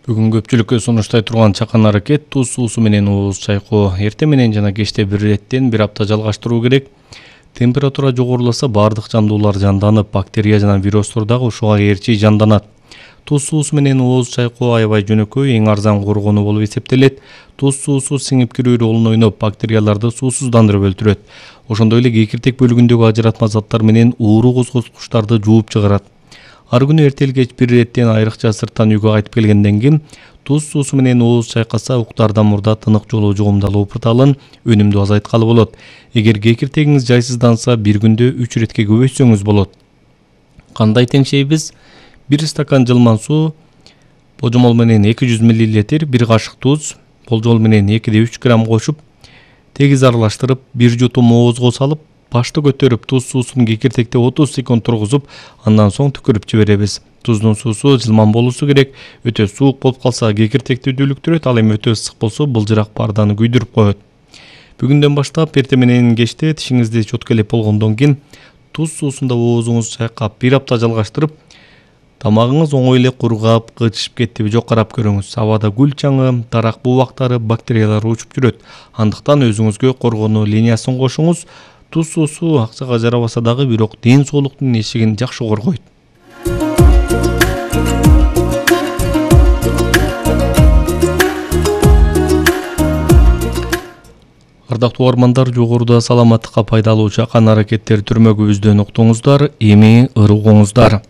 Бүгүн көпчүлүккө сунуштай турган чакан аракет туз суусу менен ооз чайкоо эртең менен жана кечте бир иреттен бир апта жалгаштыруу керек. Температура жогоруласа баардык жандуулар жанданып, бактерия жана вирустор дагы ушуга ээрчи жанданат. Туз суусу менен ооз чайкоо аябай жөнөкөй, эң арзан коргонуу болуп эсептелет. Туз суусу сиңип кирүү ролун ойноп, бактерияларды суусуздандырып өлтүрөт. Ошондой эле кекиртек бөлүгүндөгү ажыратма заттар менен ууруу козготкучтарды жууп чыгарат. Ар күнү эртелик кеч бир иреттен айрыкча сырттан үйгө кайтып келгенден кийин туз суусу менен ооз чайкаса уктардан мурда тынык жолу жугумдалуу пырталын өнүмдү азайткалы болот. Эгер кекиртегиңиз жайсызданса, бир күндө 3 иретке көбөйтсөңүз болот. Кандай теңшейбиз? 1 стакан жылман суу, божомол менен 200 мл, 1 кашык туз, болжол менен 2-3 грамм кошуп, тегиз аралаштырып, 1 жутум оозго салып, башты көтөрүп, туз суусун кекиртекте 30 секунд тургузуп, андан соң түкүрүп жиберебиз. Туздун суусу жылман болуусу керек. Өтө суук болуп калса, кекиртекти дүүлүктүрөт, ал эми өтө ысык болсо, былжырак парданы күйдүрүп коет. Бүгүндөн баштап эртең менен кечте тишиңизди чоткелеп болгондон кийин туз суусунда оозуңузду чайкап, бир апта жалгаштырып, тамагыңыз оңой эле кургап, кычышып кеттиби жок карап көрүңүз. Абада гүл чаңы, дарак бубактары, бактериялар учуп жүрөт. Андыктан өзүңүзгө коргонуу линиясын кошуңуз. Туз суусу акчага жарабаса дагы, бирок ден соолуктун эшигин жакшы коргойт. Ардактуу угармандар, жогоруда саламаттыкка пайдалуу чакан аракеттер түрмөгүбүздөн уктуңуздар, эми ырыгыңыздар.